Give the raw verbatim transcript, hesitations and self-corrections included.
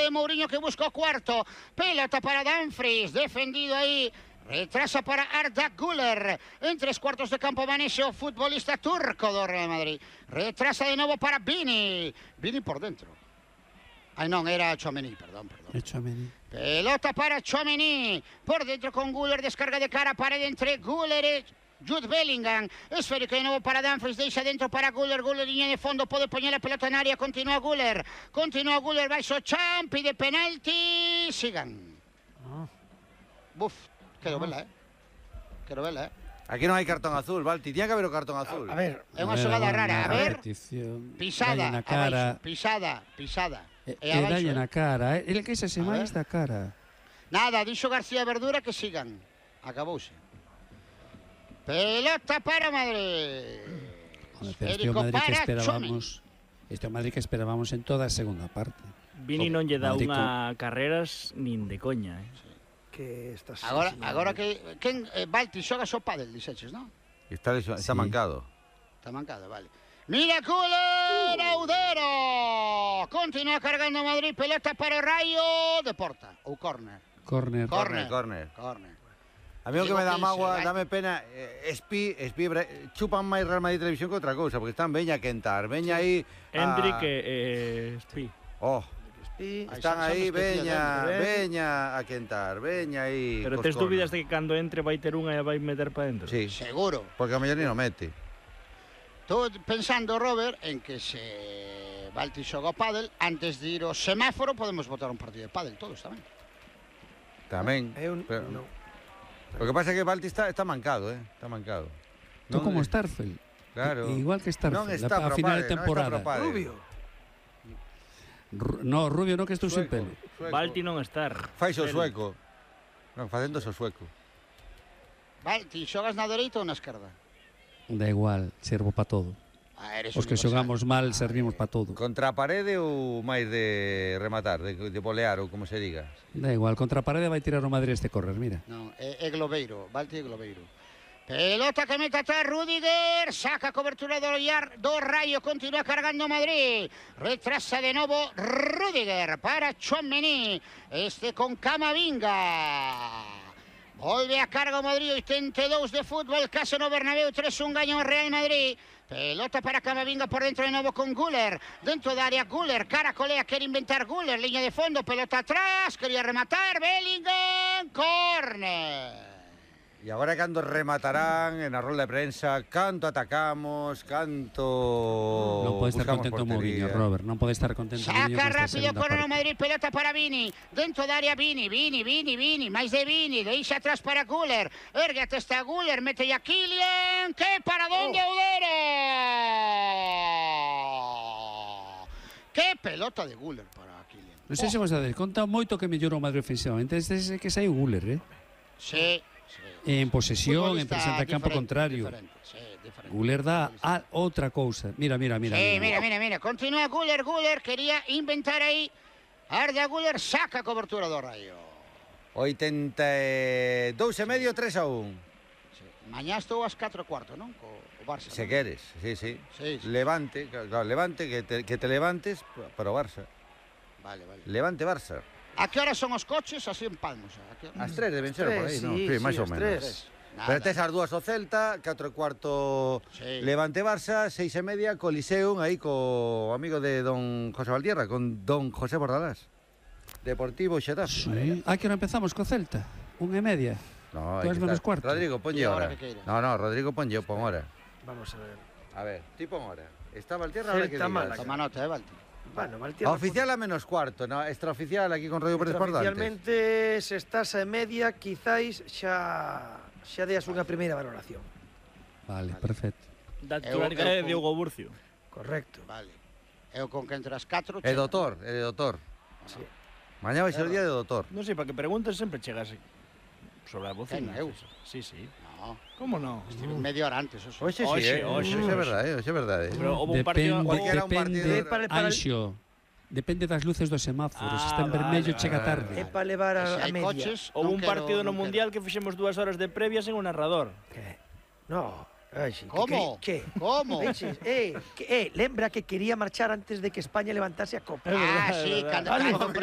de Mourinho que busca o cuarto. Pelota para Dumfries, defendido aí. Retrasa para Arda Güler. En tres cuartos de campo Vanese, o futbolista turco do Real Madrid. Retrasa de novo para Vini. Vini por dentro. Ai non, era Tchouaméni, perdón, perdón. Tchouaméni. Pelota para Tchouaméni. Por dentro con Güler, descarga de cara, pared entre Güler e Jude Bellingham. Esférico de novo para Dumfries, deixa dentro para Güler. Güler, liña de fondo, pode poñer a pelota en área. Continúa Güler. Continúa Güler, baixo champi de penalti. Sigan. Ah. Buf, quero vela, eh. Quero vela, eh. Aquí non hai cartón azul, Balti. Tiña que haber o cartón azul. A ver, É unha xogada rara, a ver. Repetición. Pisada, Dalle na cara. abaixo, pisada, pisada. E, E e abaixo, dalle eh. na cara. eh. El que se se A máis ver. da cara. Nada, dixo García Verdura que sigan. Acabouse. Pelota para Madrid. Joder, pero este é o Esférico Madrid que para esperábamos. Este é o Madrid que esperábamos en toda a segunda parte. Vini non lle dá Madrid unha carreras nin de coña, eh. que estás... Agora, agora que... Quen, eh, Balti, xoga só pádel, dixeches, non? Está, leso- está Sí. mancado. Está mancado, vale. Mira Güler, Audero. Continúa cargando Madrid, pelota para o Rayo de Porta ou córner. Corner. Córner. Corner. Córner. A mí o que Digo me dá que magua, se vai- dame pena, eh, Espi, Espi, Bra- chupan máis Real Madrid Televisión que outra cousa, porque están veña a quentar, veña aí... a- Hendrik e eh, Spi. Oh, Sí, están xa- xa aí, nos esquecía veña, dentro, eh. veña a quentar, veña aí... Pero cos tes dúbidas corners. de que cando entre vai ter unha e vai meter para dentro? Sí, Seguro. porque a mellor ni o mete. Estou pensando, Robert, en que se Balti xoga o pádel, antes de ir ao semáforo podemos botar un partido de pádel todos tamén. Tamén. é un... pero- no. Lo que pasa é que Balti está, está mancado, eh? Está mancado. Tú Non como é- Starfield. Claro. I- Igual que Starfield. Non está a pro final de pádel, non está temporada. pro pádel. Rubio. Ru- No, Rubio no, que estou sin pelo. Sueco. Balti non estar. Faixe o Él. sueco. Non, facéndose o sueco. Balti, xogas na dereita ou na esquerda? Da igual, servo para todo. Ah, eres Os que universal. xogamos mal servimos para todo. Contra a parede ou máis de rematar, de, de bolear ou como se diga? Da igual, contra a parede vai tirar o Madrid este correr, mira. Non, é, é Globeiro, Balti é Globeiro. Pelota que mete atrás Rüdiger, saca a cobertura do, Yar, do Rayo, continúa cargando Madrid. Retrasa de novo Rüdiger para Tchouaméni, este con Camavinga. Volve a cargo Madrid, oitenta e dous de fútbol, caso no Bernabéu, tres un gaño o Real Madrid. Pelota para Camavinga por dentro de novo con Güler. Dentro da área Güler, cara colea, quere inventar Güler, liña de fondo, pelota atrás, quería rematar, Bellingham, córner. E agora cando rematarán en a rolda de prensa, canto atacamos, canto Non pode estar buscamos contento portería. Mourinho, Robert. Non pode estar contento Mourinho Saca con esta rápido segunda corre o parte. Madrid, pelota para Vini. Dentro da área Vini, Vini, Vini, Vini. Máis de Vini, deixa atrás para Güler. Ergue a testa a Güler, mete a Kylian. Que para donde Audero? Que pelota de Güler para Kylian. Non sei se vos dades conta moito que mellorou o Madrid ofensivamente desde que saiu Güler, eh? Sí, sí. En posesión, en Futbolista presenza de campo diferente, contrario. diferente, sí, diferente. Güler dá a outra cousa. Mira, mira, mira. Sí, mira, mira, mira. Continúa Güler, Güler. Quería inventar aí. Arda Güler saca a cobertura do Rayo. oitenta e dous e medio, tres a un. Sí. Mañá estou ás catro e cuarto, non? Co, o Barça. Se non? queres, sí, sí. Sí, sí. Levante, claro, levante, que te, que te levantes para o Barça. Vale, vale. Levante Barça. A que hora son os coches? Así en Palmos. A que hora? As tres deben ser por aí, Tres, non? sí, Sí, máis sí, ou as menos. tres. Nada. Pero tes as dúas o Celta, catro e cuarto Sí. Levante Barça, seis e media Coliseum, aí co amigo de don José Valtierra, con don José Bordalás. Deportivo Xetafe. Sí. Ah, que non empezamos co Celta. Unha e media. No, Dúas hai que menos estar- cuarto. Rodrigo, ponlle E a hora. hora que queira. No, no, Rodrigo, ponlle, pon hora. Vamos a ver. A ver, ti pon hora. Está Valtierra, ahora que Celta, digas. Málaga. Toma nota, eh, Balti. Bueno, A Valtierra... oficial a menos cuarto, no, extraoficial aquí con Radio Pérez Pardantes. Oficialmente, se estás a media, quizáis xa xa deas unha primeira valoración. Vale, Vale. perfecto. Da Eu- titularidade eu- de Diogo Burcio. Correcto. Vale. Eu con que entre as catro... É chega. doutor, é de doutor. Sí. Mañá vai ser o día de doutor. Non sei, para que preguntes sempre chegas sobre a bocina. Quen, eu? Sí, sí. No, Como non? estive media hora antes, eso. Hoxe sí, Hoxe, eh? hoxe, Hoxe é hoxe. verdade, hoxe é verdade. Pero houve un partido... Depende, Cualquiera un partido depende, de- Para- para- Anxo, depende das luces dos semáforos. Ah, Se está en vermello, vale, chega vale, tarde. É para levar E se a, a hai media. coches, Houve non un quero- partido no non Mundial que fixemos dúas horas de previa sen un narrador. Que? No. Ai, sí, que Como? que- que? Como? Vexes, eh, que, eh, lembra que quería marchar antes de que España levantase a copa. Ah, verdade, sí, é verdade. cando Vale, cando claro que